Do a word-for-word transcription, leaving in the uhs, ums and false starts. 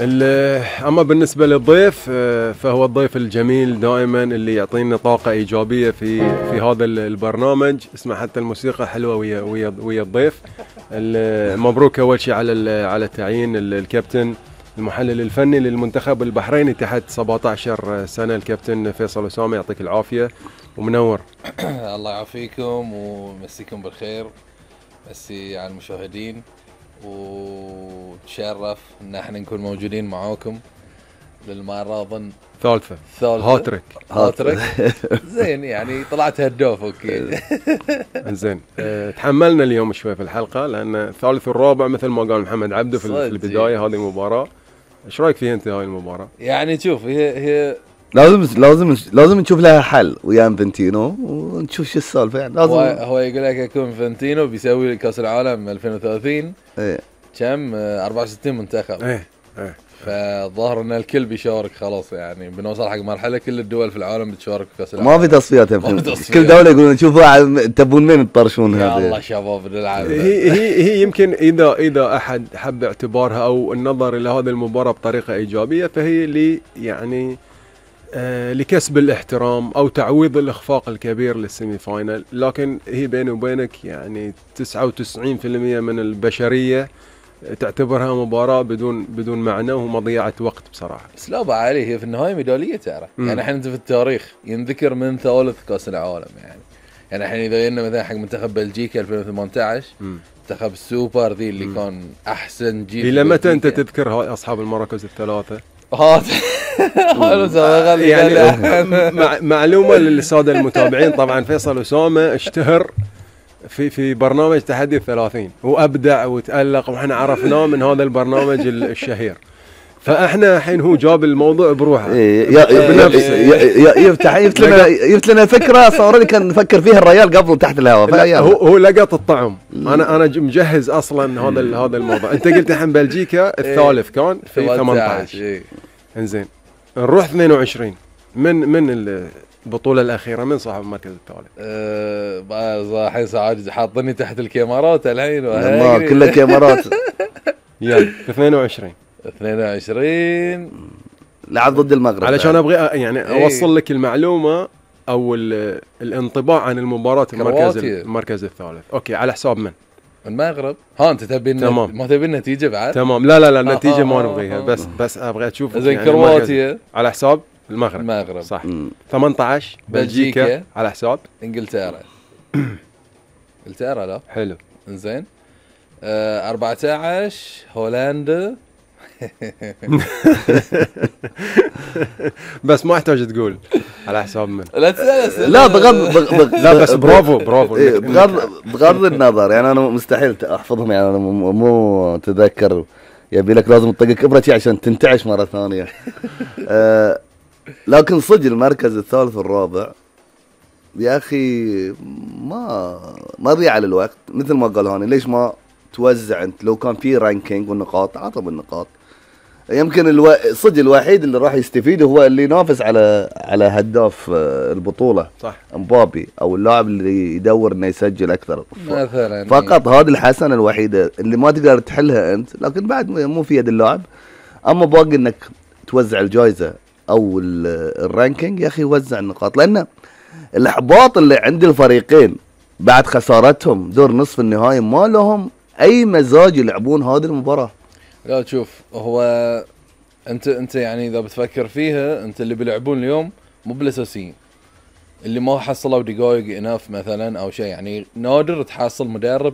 اما بالنسبه للضيف فهو الضيف الجميل دائما اللي يعطينا طاقه ايجابيه في في هذا البرنامج. اسمع حتى الموسيقى حلوه ويا ويا ويا الضيف. مبروك اول شيء على على تعيين الكابتن المحلل الفني للمنتخب البحريني تحت سبعة عشر سنه، الكابتن فيصل أسامة، يعطيك العافيه ومنور. الله يعافيكم ويمسيكم بالخير، مسي على المشاهدين، وتشرف ان احنا نكون موجودين معاكم للمره اظن ثالثه ثالثه هاتريك هاتريك زين، يعني طلعت هداف. اوكي زين. أه تحملنا اليوم شوي في الحلقه لان الثالث والرابع مثل ما قال محمد عبده في البدايه هذه المباراه. ايش رايك فيها انت هاي المباراه؟ يعني شوف، هي هي لازم لازم لازم نشوف لها حل ويا انفنتينو ونشوف شو السالفه. يعني لازم هو, هو يقول لك يكون انفنتينو بيسوي كاس العالم ألفين وثلاثين ايه كم أربعة وستين منتخب. ايه ايه فالظاهر ان الكل بيشارك خلاص، يعني بنوصل حق مرحله كل الدول في العالم بتشارك في كاس العالم. ما في تصفيات كل دوله يقولون شوفوا تبون مين تطرشون هذا. يا الله شباب نلعب. هي هي هي يمكن اذا اذا احد حب اعتبارها او النظر الى هذه المباراه بطريقه ايجابيه فهي لي يعني آه لكسب الاحترام او تعويض الاخفاق الكبير للسيمي فاينل، لكن هي بيني وبينك يعني تسعة وتسعين بالمئة من البشريه تعتبرها مباراه بدون بدون معنى ومضيعه وقت بصراحه. بس لا بعلي، هي في النهايه ميداليه ترى. يعني احنا في التاريخ ينذكر من ثالث كاس العالم. يعني يعني احنا اذا جينا مثلا حق منتخب بلجيكا ألفين وثمانية عشر، منتخب السوبر ذي اللي مم. كان احسن جيل. الى متى انت تذكر هاي اصحاب المراكز الثلاثه؟ هات يعني معلومه للساده المتابعين، طبعا فيصل أسامة اشتهر في في برنامج تحدي الثلاثين وابدع وتالق واحنا عرفناه من هذا البرنامج الشهير. فاحنا الحين هو جاب الموضوع بروحه يفتح يفتح لنا يفتح لنا فكره صار لي كان نفكر فيها الريال قبل تحت الهواء. هو هو لقط الطعم. انا انا مجهز اصلا هذا هذا الموضوع. انت قلت الحين بلجيكا الثالث كان في ثمانية عشر. انزين نروح اثنين وعشرين. من من البطولة الأخيرة من صاحب المركز الثالث؟ أه الحين سعاد حاطني تحت الكاميرات الحين ما كلها كاميرات. يلا في اثنين وعشرين اثنين وعشرين لعب ضد المغرب. علشان ابغى يعني اوصل لك المعلومة او الانطباع عن المباراة المركز المركز الثالث. اوكي على حساب من؟ المغرب. ها انت تبي ما تبي النتيجة بعد؟ تمام. لا لا لا النتيجة آه ما آه نبغيها. بس بس ابغى اشوف زين يعني كرواتيا على حساب المغرب. المغرب صح. ثمانية عشر بلجيكا, بلجيكا على حساب انجلترا. انجلترا لا حلو. انزين آه أربعة عشر هولندا. بس ما احتاج تقول على حساب من. لا تسأل. لا بغض بغض لا بس برافو برافو. بغض بغض النظر يعني انا مستحيل احفظهم. يعني انا مو تذكر يبي لك لازم تطقك ابرتي عشان تنتعش مره ثانيه. آه لكن صدق المركز الثالث والرابع يا اخي ما ما ضيع على الوقت مثل ما قال هاني. ليش ما توزع انت؟ لو كان في رانكينج والنقاط عطوا بالنقاط. يمكن الو... صدق الوحيد اللي راح يستفيد هو اللي ينافس على على هداف البطوله صح مبابي او اللاعب اللي يدور انه يسجل اكثر مثلا. فقط هذه الحسنه الوحيده اللي ما تقدر تحلها انت، لكن بعد مو في يد اللاعب. اما باقي انك توزع الجائزه او الرانكينج يا اخي وزع النقاط، لان الاحباط اللي عند الفريقين بعد خسارتهم دور نصف النهائي ما لهم اي مزاج يلعبون هذه المباراه. لا تشوف هو انت انت يعني اذا بتفكر فيها انت اللي بيلعبون اليوم مو بالاساسيين اللي ما حصلوا دقائق اناف مثلا او شيء. يعني نادر تحصل مدرب